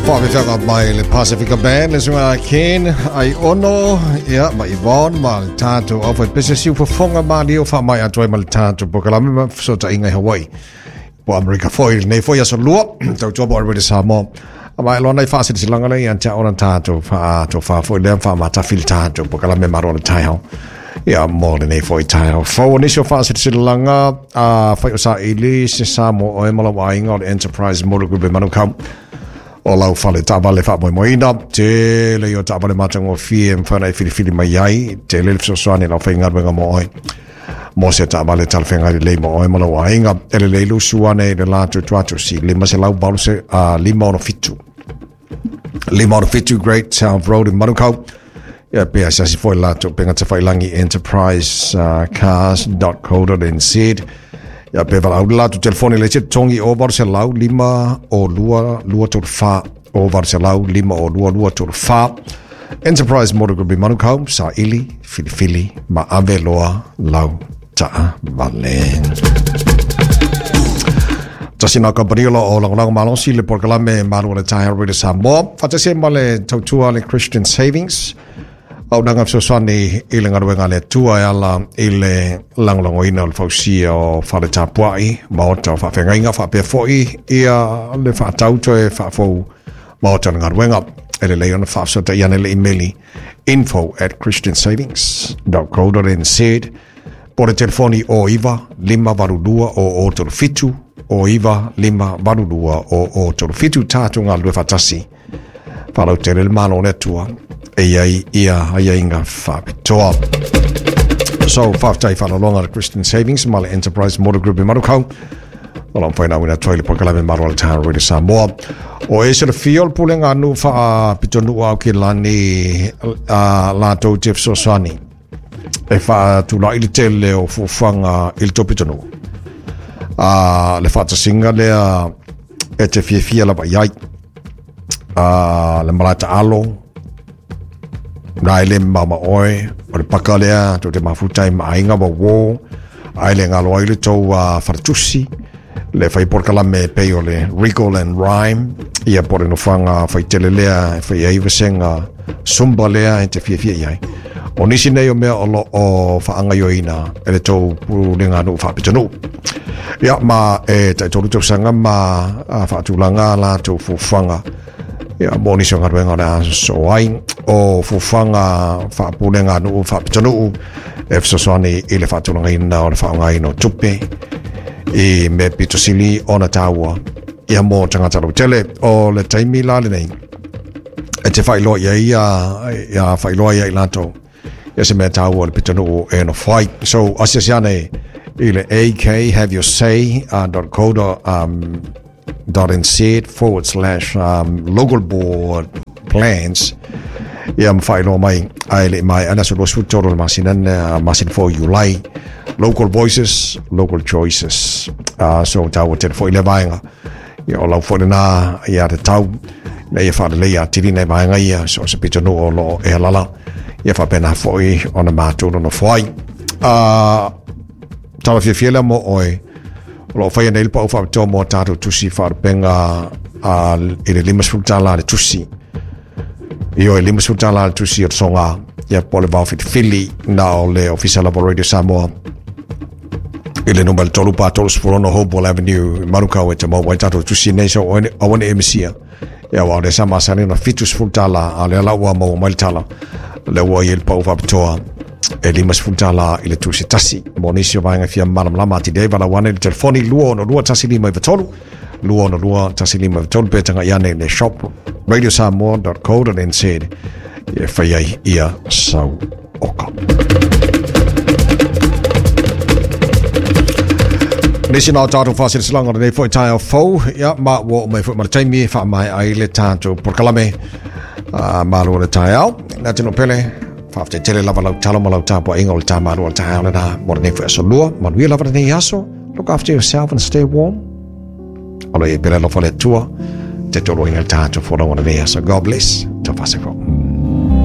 Faafefeaga mai le Pasifika Band, le suiga Ken, ai ono, ia, ma Yvonne, ma le tātou au whai pese siu fofonga ma lio wha mai atoe ma le tātou pokalame ma sota inga i Hawaii. Po Amerika foi, nei foi aso lua, tau tua po le Samoa. A mai loa nei whaasilisilanga le ia tia ona tātou wha tō wha foi lea wha matawhili tātou pokalame maro le taihao. Ia, mo le nei foi taihao. Fau o nisi o whaasilisilanga, a whai o sa ili, se Samoa oe mala wainga o le Enterprise Motor Group e Manukau. O lau fale taavale faamoemoeina tele i o taavale matagofie e mafai ona e filifili mai ai tele le fesoasoani lau faigaluega mo oe mo se taavale talafeagai lelei mo oe ma lou aiga e lelei lusu ane i le latou tuatusi 587 567 567 Great South Road in Manukau. Ia pe asiasi foi latou upega tafailangi enterprise cars.co.nz. Ia pe valaau le latou telefoni le isi totogi o 800 5 o 2 2 3 4 o 800 5 o 2 2 3 4. Enterprise Motor Group i Manukau, saili, filifili ma ave loa lau taavale. Tasi nā kampanio lo o lagolago malosi le polokalame Malu o le Taeao Radio Samoa. Faatasi ai ma le tautua le Christian Savings. Auaunaga fesoasoani i le galuega a le Atua e ala i le lagolagoina o le fausia o fale tapuai, maota o faafeagaiga faapea foi ia le faatau toe faafou maota o le galuega. E lelei ona faafesootai ane le imeli info at christiansavings.co.nz po le telefoni o 9 582 o 37 o 9 582 o 37 tātou galulue faatasi. Faalautele le Malo o le Atua e i ai ia aiaiga faapitoa. So, faafetai faalologa le Christian Savings ma le Enterprise Motor Group i Manukau. O lau whaina wina toi le polokalame Malo o le Taeao Radio Samoa. O e se le fia o le pulega nuu faapito au ki lani a latou te fesoasoani e faatulai le tele o fuafuaga i le tou pitonuu. A le faatasiga lea e te fiafia lava i ai. A le malae taalo, na e le mamao ma oe, o le paka lea tou te mafuta ai ma aiga ma uō, ae le galo ai le tou faletusi, le fai polokalame e pei o le Wriggle and Rhyme, ia po o le nofoaga faitele lea e fai ai vasega Zumba lea e te fiafia i ai. O nisi nei o mea o lo o faagaoioina e le tou pulega nuu faapitonuu. Ia, ma e taitolu tausaga ma faatulaga a latou fuafuaga ia, mo nisi o galuega o le a sosoo ai. O fuafuaga faapulega nuu faapitonuu e fesoasoani i le faatulagaina o le faaaogaina o tupe i mea pito sili ona taua ia mo tagata lautele. O le taimi la lenei e te faailoa i ai ia faailoa ia i latou ia se mea taua o le pitonuu e nofo ai. So asiasi ane i le ak have your say .co .nz forward slash local board plans ia ma faailoa mai ae le i maea le aso 23 o le masina masina fou Iulai. Local voices, local choices. So taua tele foi lea vaega. Ia o lau foi lena ia te tau ina ia faaleleia atili nai vaega ia so o se pitonuu o lo o e alala ia faapena foi ona matou nonofo ai. Tala fiafia lea mo oe o lo o faia nei le pau faapitoa mo tatou tusi faalupega i le $50 le tusi. I oe $50 le tusi o le soga ia po o le vaofilifili na o le Ofisa lava o Radio Samoa i le numera 3 pa 36 Hopewell Avenue i Manukau e te maua ai tatou tusi nei so aua ne i e misia. Ia aua o lea sa masani ona $70 a o lea la ua maua mai le tala lea ua i ai le pau faapitoa e $50 i le tusi tasi. Mo nisi o vaega fia malamalama atili ai valaau ane i le telefoni 262 1593 262 1593 pe tagai ane i le shop radiosamoa.co.nz e fai ai ia sau oka. Nisi nā o tātou whāsirisilanga o lenei foi taeao fou, ia, ma ua oo mai foi ma le taimi e whaamae ai le tātou polokalame malu o le taeao. Nā tino pele, whaafetai tele lava lau talo ma lau tapuaiga o le tā malu o le taeao lena mo lenei foi aso lua. Manuia lava lenei aso. Look after yourself and stay warm. O lo i ai pele alofa le Atua, te toloina le tātou folauga o lenei aso. God bless. Tau whasefo.